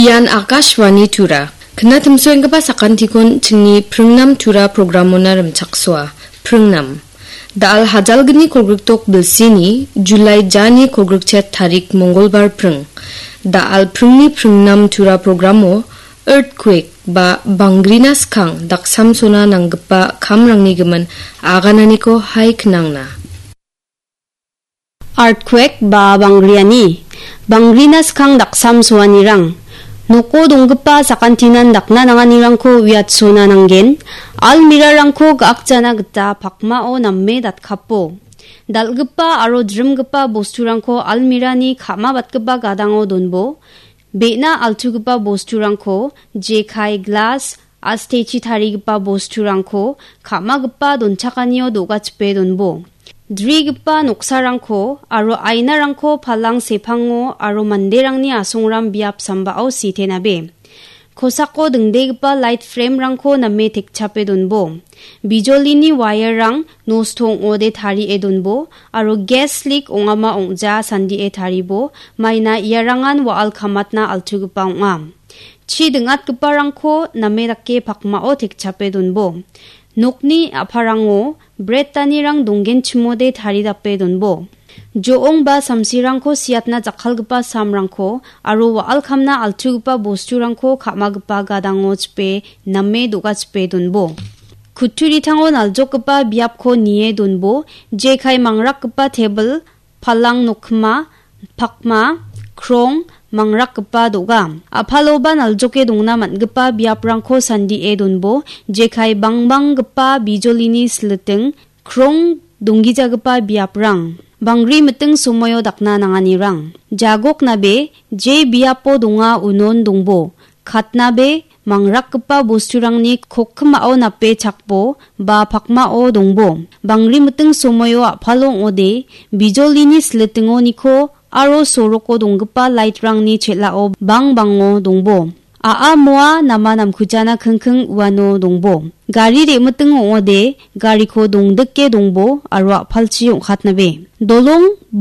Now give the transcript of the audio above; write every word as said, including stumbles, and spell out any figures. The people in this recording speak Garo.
Ian Akashvani Tura. Kna timsoenggipa sakantikon chingni pringnam Tura programona rimchaksoa. Pringnam. Da·al hajalgni kolgrikdok bilsini, Julai jani kolgrikchet tarik Mongolbar pring. Da·al pringni pringnam Tura programo earthquake ba bangrina skang daksamsona nanggipa kamrangni gimin agananiko hai knangna. Earthquake ba bangriani, bangrina skang daksamsoanirang, noko donggipa sakantinan dakna nanganirangko uiatsona nanggen, almirarangko ga·akjana gita pakmao name datkapo. Dal·gipa aro drimgipa bosturangko almirani ka·mabatgipa gadango donbo, be·na altugipa bosturangko jekai, glas, astechi tarigipa bosturangko ka·magipa donchakanio do·gachipe donbo. Drigipa noksarangko aro ainarangko palang sepango aro manderangni asongram biap sambao sitenabe. Kosako dingdegipa light frame-rangko name tekchape donbo. Bijolini wire-rang nosto ong·ode tarie donbo aro gas leak ong·ama ong·ja sandie taribo, maina iarangan wa·al kamatna altugipa ong·a. Chi ding·atgiparangko name dake pakmao tekchape donbo. Nokni a·parango bret danirang donggenchimode taridape donbo. Jo·ong ba samsirangko siatna jakkalgipa samrangko aro wa·al kamna altugipa bosturangko ka·magipa gadango chipe name do·gachipe donbo. Kutturitango naljokgipa biapko nie donbo, jekai mangrakgipa tebil, palang nokkima, pakma, krong, mangrakgipa do·ga. A·paloba naljoke dongna man·gipa biaprangko sandie donbo, jekai bangbanggipa bijolini siliting, krong donggijagipa biaprang. Bangri miting somoio dakna nanganirang. Jagoknabe je biapo donga unon dongbo. Katnabe mangrakgipa bosturangni kokkimao nape chakbo ba pakmao dongbo. Bangri miting somoio a·palo ong·ode bijolini silitingoniko aro soroko donggipa light-rangni chel·ao bangbango dongbo. A·a moa nama namkujana kingking uano dongbo. Gari re·miting ong·ode gariko dongdike dongbo aro a·palchi ong·katnabe. Dolong bo-